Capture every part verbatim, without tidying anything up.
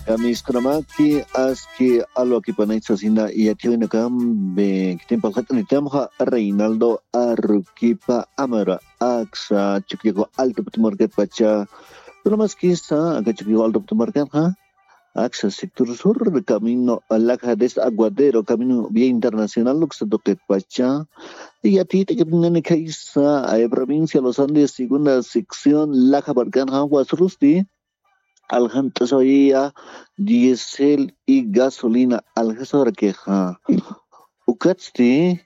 Kamiskunamaki aski alwakipanay sasina yathiwinakambi kitimpalxat'anitamxa Reinaldo Aruquipa Amara aksa Chukiyaku Alto Putumarkatpacha. Kunamaskisa aka Chukiyaku Alto Putumarkanxa aksa sector sur camino laja des Aguadero camino vía internacional uksa tuqitpacha. Yatit'akipnani khaysa provincia Los Andes segunda sección laja markanxa wasurusti aljant'asawayaya diésel y gasolina aljasawarakixa. Ukatsti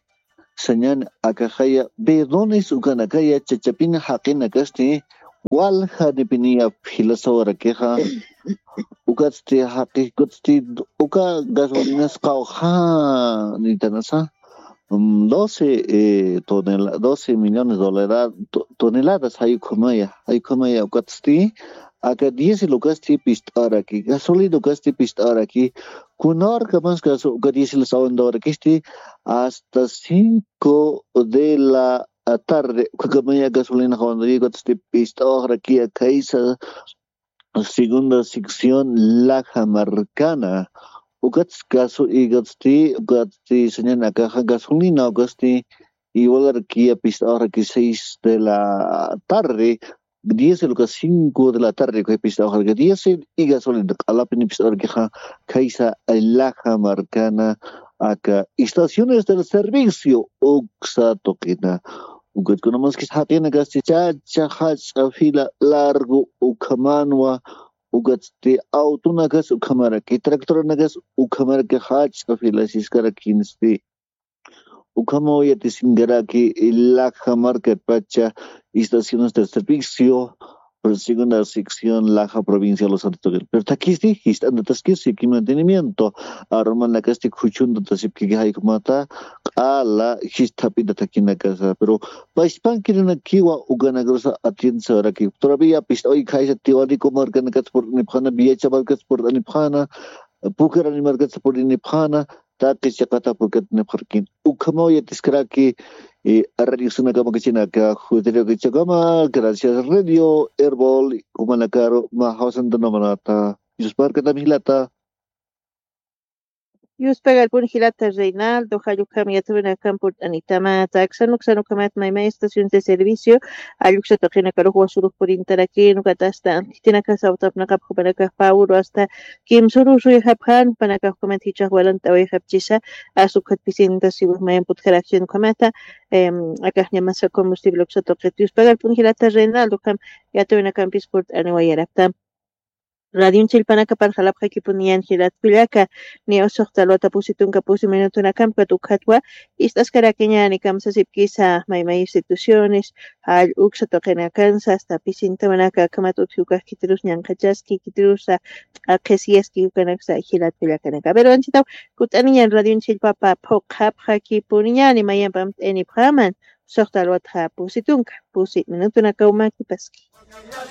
sañan akaxaya bidones ukanakaya chachapina jaqinakasti waljanipiniya filasawarakixa. Ukatsti jaqikutsti uka gasolinas qawja nitanasa mm, doce eh, tonela- doce millones de dólares to- toneladas jayukhamaya jayukhamaya ukatsti aka diésel ukasti pist'araki gasolina ukasti pist'araki. Kunarka más caso uka diésel sawandawarakisti hasta cinco de la tarde ukhakamaya gasolina jawandawarakisti pist'awarakia kaisa segunda sección laja markana. Ukats caso ikatsti ukatsti sañan akaxa gasolina ukasti igual arkiya pist'awarakixa seis de la tarde, diez de lo que cinco de la tarde que pist'awarakiya diez y gasolina q'alapini pist'awarakixa. Kaisa laja markana aka estaciones del servicio uksa tuqina. Ukatkunamaskis jaqinakasti chacha jach'a fila largo ukhamanwa. Ukatsti autonakas ukhamaraki tractoranakas ukhamaraki jach'a fila siskarakinsti. Ukhamaw yatisinkaraki laja markatpacha estaciones de servicio segunda sección laja provincia Los Santos tuqin pero thakisti jist'antataskinsi ki mantenimiento arumanakasti khuchuntatasipkiki jaykumata q'ala jist'ap'inta thakinakasa pero payspankirinakiwa ukanakarusa atiendesawaraki todavía pist'away khaysa tiwaniku markanakatsa purt'anipxana viacha markatsa purt'anipxana pukarani markatsa purt'anipxana taqi chiqata purkatinipxarkin ukhamaw yatiskaraki. Radiosunakamakachinaka jutiriwakachakama gracias radio erbol umanakaru majawasantunamanata. Yusparkatam jilata. Yuspagarpun jilata Reinaldo jallukam yatawinakam purt'anitamata aksanuksanukhamat maymay estación de servicio alluksa taqinakaruxwa surux purintarakinu katasta antitinakasa utapnaqapxupanakax pawru asta kimsuru suyxapxan panakaxkumat jichhax walant'awayxapchisa. Asukhat pisinta siwix mayan putjarakshin ukhamata. Akaxñamasa combustible uksa tuqit yuspagarpun jilata Reinaldo ukham yatawinakampis purt'aniwayarapta. Radion chillpanakapan jalapxakipuniyan jilat kullaka. Ni usuxta lwata pusi tunka pusi minutunakampkat ukhatwa ist'askarakiñani kamsasipkisa maymay instituciones jall uksa tuqinakansa asta pisintawanaka akhamat utji ukax khitirus ñanqhachaski khitirusa q'aqhisiyaski ukanaksa jilat kullakanaka pero anchitaw kut'aniñan radion chillpapa phuqhapxakipuniñani mayampamt'aynipxaman. Usuxta lwatxa pusi tunka pusi minutunakaw makipaski.